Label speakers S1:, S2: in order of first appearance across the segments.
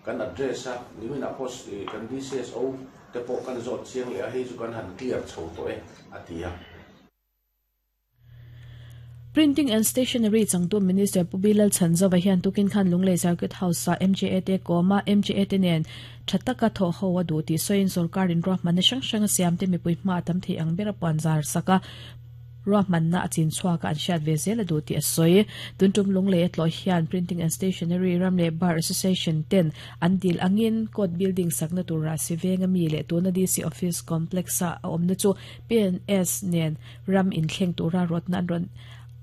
S1: Kan address a, niminah pawh kan DCSO te pawh kan zawt chiang leh a, hei chu kan han clear chho tawh e, a ti a.
S2: Printing and Stationery changtu Minister Pu Bilal Chhanzova hian tukin khan Lunglei Circuit House-ah MJA te kawm a, MJA te nen tha taka thawh ho a duh tih sawiin sorkarin ruahmanna hrang hrang a siam te mipui hma a tam thei ang ber a puanzar sak a, ruahmanna a chin chhuak a an hriat ve zel a duh tih a sawi. Tun tum Lunglei a tlawh hian Printing and Stationery ram leh Bar Association ten an dil angin Court Building sakna tura Sivenga mi leh tuna DC Office Complex-a a awmna chu PNS nen ram inthleng tura rawtna an rawn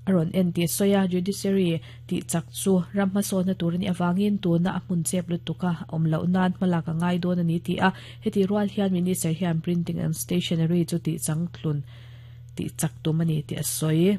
S2: a rawn en tih sawi a, Judiciary tih chak chu ram hmasawnna tur a nih avangin tuna a hmun chep lutuk a awm loh nan hmalak a ngai dawn a ni ti a, heti rual hian Minister hian Printing and Stationery chu tih changtlun tih chak tum a ni tih a sawi.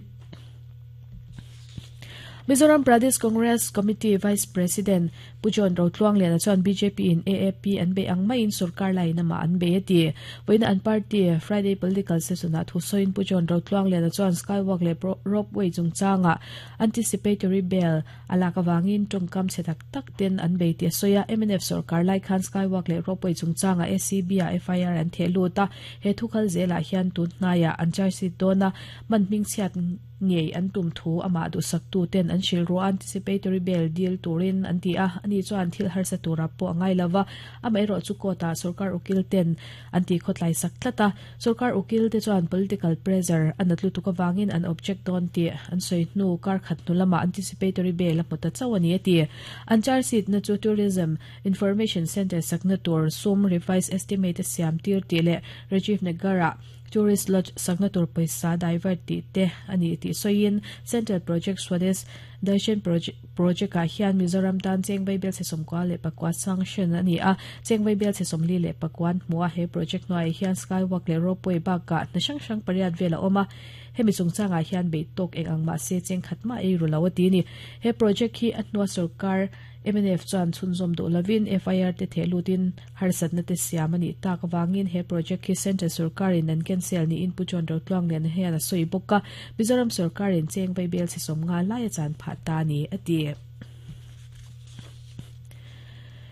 S2: Mizoram Pradesh Congress Committee Vice President Pu John Rotluangliana chuan bjp in AAP an bei ang maiin sorkar laiin amah an bei a ti. Vawiina an party Friday Political Session ah thu sawiin Pu John Rotluangliana chuan Skywalk leh Ropeway chungchangah anticipatory bail a lak avangin tawngkam chhe tak tak ten an bei tih a sawi a. Mnf sorkar lai khan Skywalk leh Ropeway chungchangah ACB ah FIR an theh lut a, he thu kal zelah hian tun hnaiah an charge sheet dawn a, man hmingchhiat ngei an tum thu amah duhsaktu ten an hrilh ruah a, anticipatory bail dil turin an ti a, ani chuan thil harsa tura pawh a ngai lova, amaherawh chu court ah sorkar ukil ten an ti khawtlai sak tlat a, sorkar ukil te chuan political pressure a nat lutuk avangin an object dawn tih an sawi hnu kar khat hnu lamah anticipatory bail a hmu ta chauh a ni a ti. An charge sheet na chu Tourism Information Centre sakna tur sum revised estimate a siam tir tih leh Rajiv Nagar ah Tourist Lodge sakna tur pawisa divert tih te a ni tih sawiin Central Project Swadesh Darshan Project ah hian Mizoram tan cheng vaibel chhe 94 sanction a ni a, cheng vaibel chhe 44 an hmu a, he project hnuaiah hian skywalk leh ropeway bakah hna hrang hrang pariat vel a awm a, hemi chungchangah hian beih tawk eng ang mahse cheng khat mah ei ru lo a ti a ni. He project hi a hnua sorkar mnf chuan chhunzawm duh lovin FIR te theh lutin Harsatna te siam a nih tak avangin he project hi Central sorkarin an cancel niin Pu John Rotluangliana hian a sawi bawk a, Mizoram sorkarin cheng vaibel chhe 50 lai a chan phah ta a ni, a ti.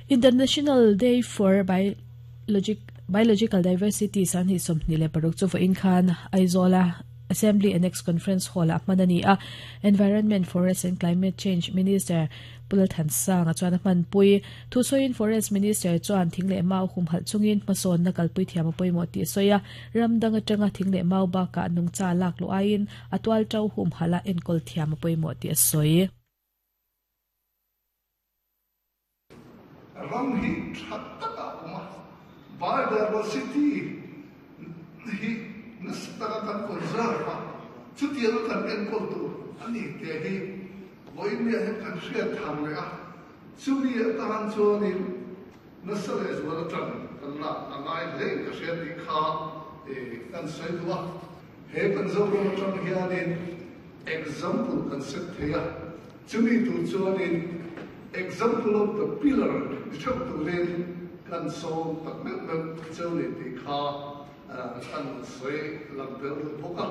S2: International Day for Biological Diversity 2026 chu vawiin khan Aizawla Assembly Annex Conference Hall-ah hman a ni a, Environment, Forest and Climate Change Minister Pu Lalthansanga chuan a hmanpui. Thusawiin Forest Minister chuan thing leh mau humhalh chungin hmasawnna kalpui thiam a pawimawh tih a sawi a, ram dang atanga thing leh mau bakah nungcha lak luh aiin a tual to humhalh a enkawl thiam a pawimawh tih a sawi.
S3: Ram hi tha tak a awm a, biodiversity hi nasa taka kan conserve a, chutianga kan enkawl tur a ni tih hi Vawiinniah hian kan hriat thar leh a, chumi atan chuanin nasa leh zual atang kan lak a ngai hle in ka hria tih kha kan sawi duh a. He kan Zoram atang hianin example kan set thei a, chumi tur chuanin example of the pillar ni theuh turin kan sawm tak meuh meuh cheu ni tih kha kan sawi lang tel duh bawk a.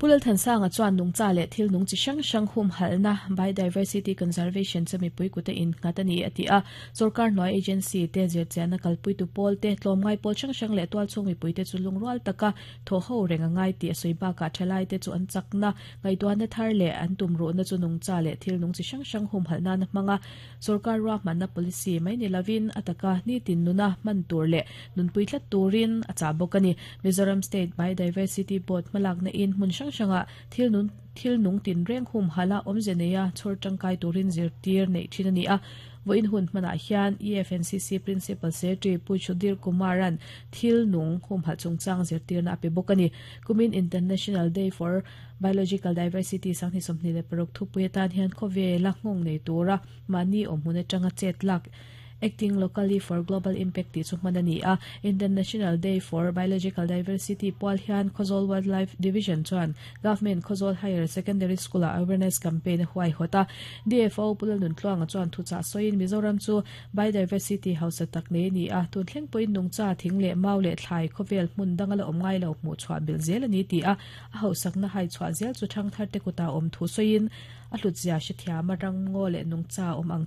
S2: Pu Lalthansanga chuan nungcha leh thil nung chi hrang hrang humhalhna, biodiversity conservation, chu mipui kut a innghat a ni, a ti a. Sorkar hnuai agency te, zirchianna kalpuitu pawl te, tlawmngai pawl hrang hrang leh tualchhung mipuite chu lungrual taka thawh ho reng a ngai tih a sawi bakah thalaite chu an chakna, ngaihtuahna thar leh an tumruhna chu nungcha leh thil nung chi hrang hrang humhalh nana hmanga sorkar ruahmanna policy mai ni lovin a taka nitin nuna hman tur leh nunpui tlat turin a chah bawk a ni. Mizoram State Biodiversity Board hmalakna in hmun hrang hrangah thil nun thil nung tinreng humhalh a awmze neia chhawr tangkai turin zirtir neih thin a ni a. Vawiin hun hmanah hian EFNCC Principal Secretary Pu Sudhir Kumar-a'n thil nung humhalh chungchang zirtirna a pe bawk a ni. Kumin International Day for Biological Diversity 2026 thupui atan hian khawvela nghawng nei tura mahni awmhmun atanga chet lak Acting Locally for Global Impact tih chu hman a ni a. International Day for Biological Diversity pual hian Khawzawl Wildlife Division chuan Government Khawzawl Higher Secondary School-ah awareness campaign a huaihawt a. DFO Pu Lalnuntluanga chuan thuchah sawiin Mizoram chu biodiversity hausa tak nei a ni a, tun thleng pawhin nungcha, thing leh mau leh thlai khawvel hmun danga la awm ngai lo hmuh chhuah belh zel a ni ti a, a hauhsakna hai chhuah zel chu thangtharte kutah awm thu sawiin a hlutzia hrethiam a, ramngaw leh nungcha awm ang.